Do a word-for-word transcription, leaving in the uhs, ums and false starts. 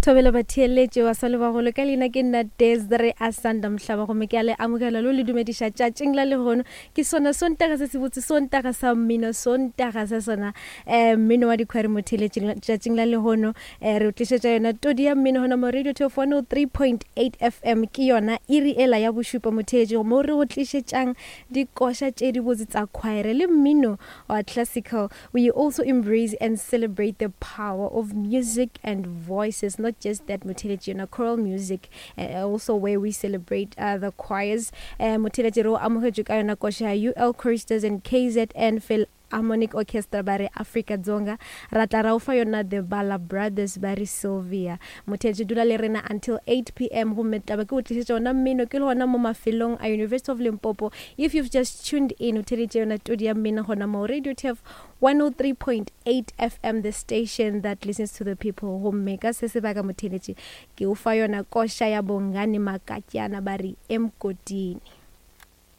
Thobela batheeletše wa sa lebagolo ka leina ke nna Desire Asanda Mhlaba, gomme ke a le amogela lo le dumediša tšatšing la lehono. Ke sona Sontaga se se botse, Sontaga sa mmino, Sontaga sa sona um mmino wa dikhwari. Motheeletše, tšatšing la lehono um re o tlišetša yona todi ya mmino gona mo Radio Turf one oh three point eight F M. Ke yona iri ela ya bošupa, motheeletše, mo re go tlišetšang dikoša tše dibotse tsa choir le mmino wa classical. We also embrace and celebrate the power of music and voices. Not just that, motheeletše, yona choral music, uh, also where we celebrate uh, the choirs. uh, motheeletše re o amogetšwe ka yona koša ya U L Choristers and K Z N Philharmonic Orchestra, ba re Africa Dzonga. Ra tla ra o fa yona the Bala Brothers, ba re Sylvia. Motheeletše, dula le rena until eight p m, gomme taba ke o tlišetša yona mmino ke le gona mo mafelong a University of Limpopo. If you've just tuned in, o theeletše yona todi ya mmino gona mo Radio Turf one oh three point eight F M, the station that listens to the people. Gomme ka se sebaka, motheeletše, ke o fa yona koša ya Bongani Makatyana, ba re Emgodini.